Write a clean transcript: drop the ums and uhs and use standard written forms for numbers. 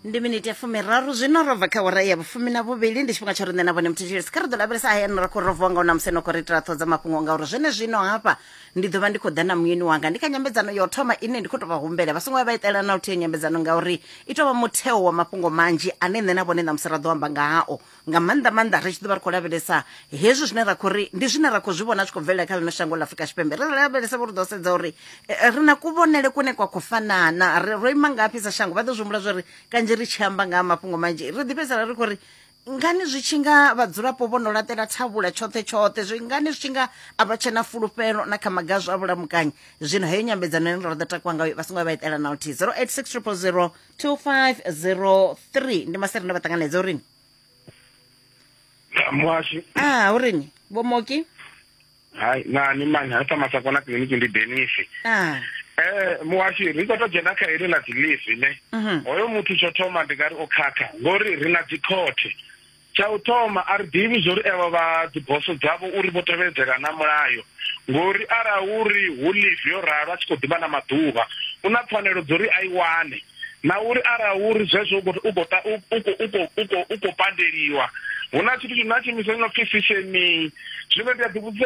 Ndi miniti ya 30 zwino ro bva kha wara ya vhufumi na vhuvhili. Ndi tshifhinga tsha riṋe na vhone muthetshelesi. Kha ri ḓo lavhelesa hayani ra khou rovuwa nga u na musi no khou ri itela ṱhoho dza mafhungo, ngauri zwenezwino hafha ndi ḓo vha ndi khou ḓa na muyeni wanga. Ndi kha nyambedzano ya u thoma ine ndi khou tou vha humbela vha songo vha vha itela na luthihi nyambedzano, ngauri i tou vha mutheo wa mafhungo manzhi ane nṋe na vhone ṋamusi ra ḓo amba nga hao, nga maanḓa maanḓa ri tshi ḓo vha ri khou lavhelesa hezwi zwine ra khou ri ndi zwine ra khou zwi vhona zwi khou bvelela kha ḽino shango ḽa Afrika Tshipembe. Ri lavhelesa vho ri ḓo sedza uri ri na kuvhonele kune kwa khou fanana, ri ro ima ngafhi sa shango. Vha ḓo zwi humbula zwa uri kanzhi ri tshi amba nga ha mafhungo manzhi ri ḓi fhedzisela ri khou ri ngani zwi tshi nga vhadzulapo vho no laṱela thavhula tshoṱhe tshoṱhe, zwi ngani zwi tshi nga a vha tshena fulufhelo na kha maga a zwa vhulamukanyi. Zwino heyo nyambedzano ine ra ḓo takuwa ngayo vha songo vha itela na luthihi. 086 000 2503 ndi masere ndo vha ṱanganedza urini. Muhashi. Ah, urini vho Moki? Hai, na ni mani ha sa masakona kiḽiniki ndi Denisi. Ah. Muhashi, ri khou tou dzhena kha heḽi ḽa dzi leave ne. Hoyo muthu tsho thoma ndi nga ri o khakha ngori ri na dzi khothe. Tsha u thoma a ri ḓivhi zwori evho vha dzi boso dzavho uri vho tevhedzela na mulayo, ngori arali uri hu leave yo ralo a tshi khou ḓivha na maḓuvha u na pfanelo dzo uri a i wane, na uri arali uri zwezwo u khou u khou pandeliwa hu na tshithu tshi na tshiimiswa tshi no pfi sishemei. Zwino ndi a ḓi vhudzisa.